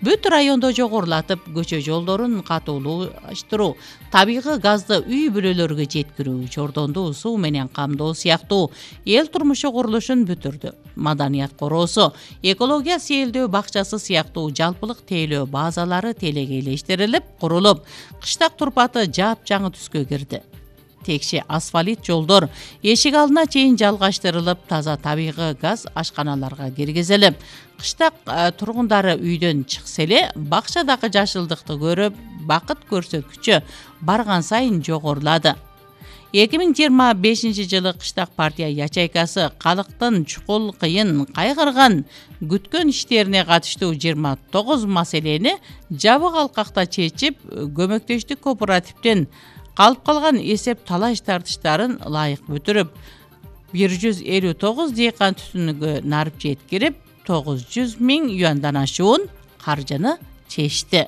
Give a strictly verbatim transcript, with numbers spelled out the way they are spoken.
бүт райондо жогорулатып, көчө жолдорун катуулаштыруу, табигый газды үй бүлөлөргө жеткирүү, чордонду суу менен камдоо сыяктуу эл турмушу курулушун бүтүрдү. Маданият короосу, экология сейилдөө бакчасы сыяктуу жалпылык тейлөө базалары телегейлештирилип, курулуп, кыштак турпаты жаап-жаңы түскө кирди. Текши асфалт жолдор эшик алдына чейин жалгаштырылып, таза табигый газ ашканаларга киргизилип, кыштак тургундары үйдөн чыкса эле бакчадагы жашылдыкты көрүп, бакыт көрсөткүчү барган сайын жогорулады. эки миң жыйырма бешинчи жылы кыштак партия ячейкасы калктын чукул, кыйын, кайгырган, күткөн иштерине катыштуу жыйырма тогуз маселени жабык алкакта чечип, көмөктөштүк кооперативден калып калган эсеп талаш тартыштарын ылайык бүтүрүп, бир жүз элүү тогуз дыйкан түтүнүгө нарып жеткирип, тогуз жүз миң юандан ашуун каржыны чечти.